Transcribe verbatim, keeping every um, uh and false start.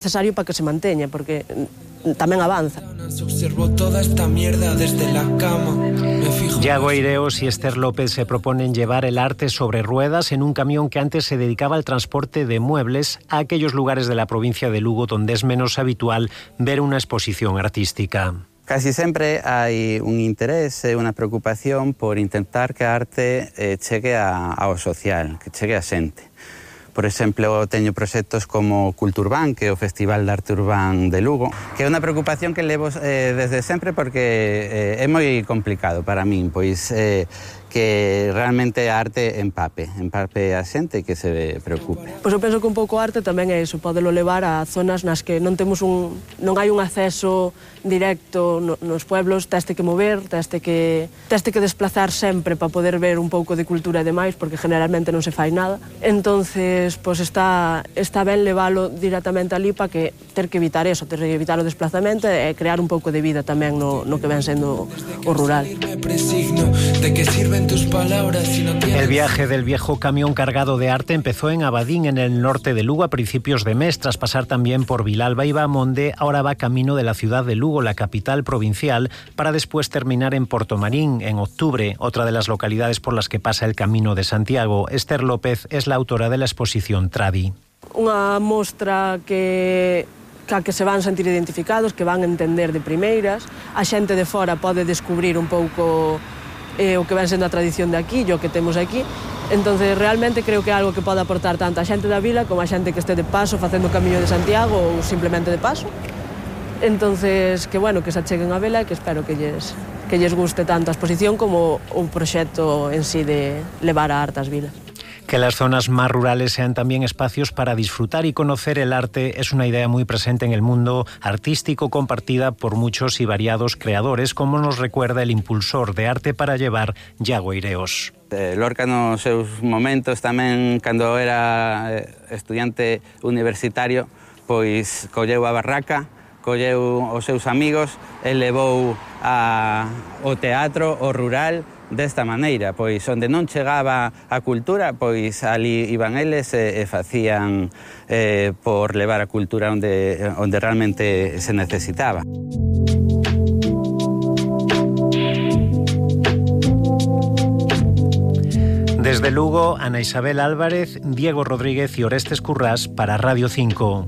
necesario para que se manteña, porque tamén avanza. Yago Eireos y Esther López se proponen llevar el arte sobre ruedas en un camión que antes se dedicaba al transporte de muebles a aquellos lugares de la provincia de Lugo donde es menos habitual ver una exposición artística. Casi sempre hai un interés e unha preocupación por intentar que a arte eh, chegue a, ao social, que chegue a xente. Por exemplo, teño proxectos como Culturban, que é o Festival de Arte Urbán de Lugo, que é unha preocupación que levo eh, desde sempre porque eh, é moi complicado para min, pois eh, que realmente a arte empape, empape a xente e que se preocupe. Pois eu penso que un pouco a arte tamén é iso, podelo levar a zonas nas que non temos un, non hai un acceso directo no, nos pueblos, teste que mover, teste que teste que desplazar sempre para poder ver un pouco de cultura e demais, porque generalmente non se fai nada. Entonces, pois está está ben levalo directamente ali para que ter que evitar eso, ter que evitar o desplazamento e crear un pouco de vida tamén no, no que ven sendo o rural. El viaje del viejo camión cargado de arte empezó en Abadín, en el norte de Lugo, a principios de mes. Tras pasar también por Vilalba y Bamonde, ahora va camino de la ciudad de Lugo, la capital provincial, para después terminar en Portomarín, en octubre, otra de las localidades por las que pasa el Camino de Santiago. Esther López es la autora de la exposición Tradi. Unha mostra que... que que se van sentir identificados, que van entender de primeiras. A xente de fora pode descubrir un pouco eh, o que ven sendo a tradición de aquí, o que temos aquí. Entonces, realmente creo que é algo que pode aportar tanto a xente da vila como a xente que este de paso facendo o Camiño de Santiago ou simplemente de paso. Entonces, que bueno, que se acheguen a vela e que espero que lles, que lles guste tanto a exposición como o proxecto en sí de levar a arte ás vilas. Que las zonas más rurales sean también espacios para disfrutar y conocer el arte es una idea muy presente en el mundo artístico, compartida por muchos y variados creadores, como nos recuerda el impulsor de Arte para Llevar, Yago Eireos. Lorca nos seus momentos tamén, cando era estudiante universitario, pois colleu a barraca, colleu os seus amigos e levou a, o teatro, o rural, desta maneira, pois onde non chegaba a cultura, pois ali iban eles e, e facían eh, por levar a cultura onde, onde realmente se necesitaba. Desde Lugo, Ana Isabel Álvarez, Diego Rodríguez y Orestes Currás para Radio cinco.